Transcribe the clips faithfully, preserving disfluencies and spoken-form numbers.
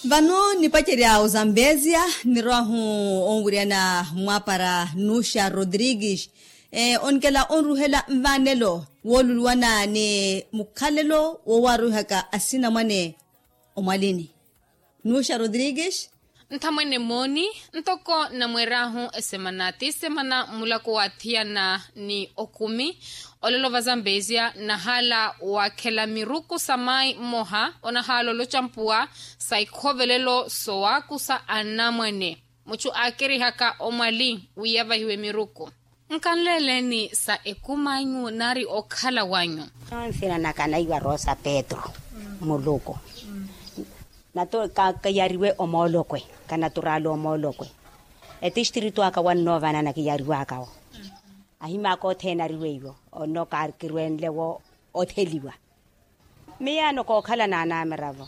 Vano nipacerya ozambezia nirwahu onwiryana mwapara nuxa rodrigues, onkela onruhela nvanelo woluluwana ni mukhalelo wowarwihaka asinamwane omwalini. Nuxa rodrigues. Nthamwene mooni, ntoko namweerahu esemana ti semana mulako wathiyana ni okumi, olelo vazambezia nahala wakhela miruku sa mayi mmoha onahala olocampuwa sa ikhovelelo sowakusa anamwane. Muchu akerihaka omwali wi yavahiwe miruku. Nkanleeleni sa ekuma anyu nari okhala wanyu. Nsina naka naiwa rosa petro muluku. Nato kiyariwe omoolokwe, kanaturaala omoolokwe. Etistritu aka wannoovanana kiyariwakawo. Ahimaka othene ariweiwo onno karkirwenlewo otheliwa. Miyaano kookhala n'anamiravo.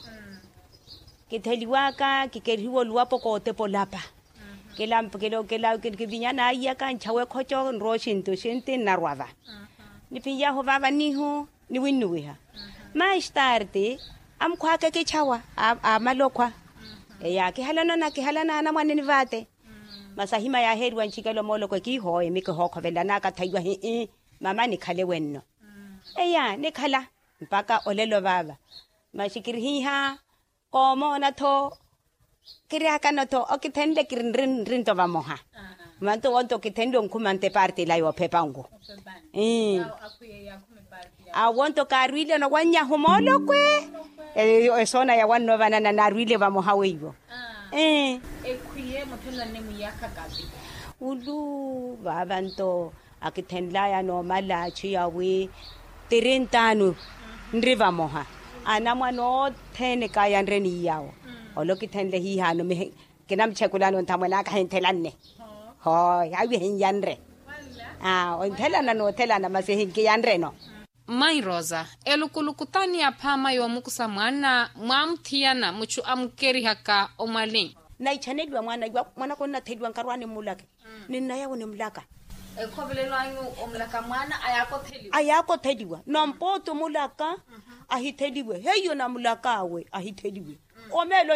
Kitheliwaka kikerihiwa oluwapo kootepa olapa. Kivinya naiyaka nchawe ekhoco nrowa oxinti oxinti nnarwava. Niphinyahu vava nihu niwinnuwiha. Maistarti amukhwaka ekichawa amala okhwa. Eya kihalana na kihalana anamwaneni vate. Masi ahima yaaheeriwa nchikela omooloko ekiihooye mikihokhovelela naakathaiwa hii. Mama nikhale wenno. Eya nikhala mpaka olelo vava. Masi kirihiha koomoona-tho. Kirihakana-tho okithenle kiri nrinto vamoha. Manto wonto okithenle onkhuma nte parte ila yoophepa nku. Awo nto kaarwile nowanyahu moolokwe. Esoona yawannoovanana naarwile vamoha weiwo. Ekhwiye muthenlanne mwiyakhaka. Ulu vava nto akithenlaya noomala atchu yawi tirintaanu nri vamoha. Anamwane othene kaayanre ni yawo. Ole okithenle hiihano mihi kinamuchekulano nthamwene aka ahinthelanne. Hoo yaawi ahinyanre. Onthelana noothelana masi ahinkiyanreno. Mmayi rosa, elukuluku taani yaphaama yoomukusa mwaana mwaamuthiyana muchu amukerihaka omwali. Naichaneliwa mwaana iwa mwanaka onnatheliwa nkarwaani mmulake. Ninnayawo nimulaka. Ekhovelelo anyu omulaka mwaana ayaaka otheliwa. Ayaaka otheliwa nampooti omulaka. Ahitheliwe heiyo namulak'awe ahitheliwe. Omeelo.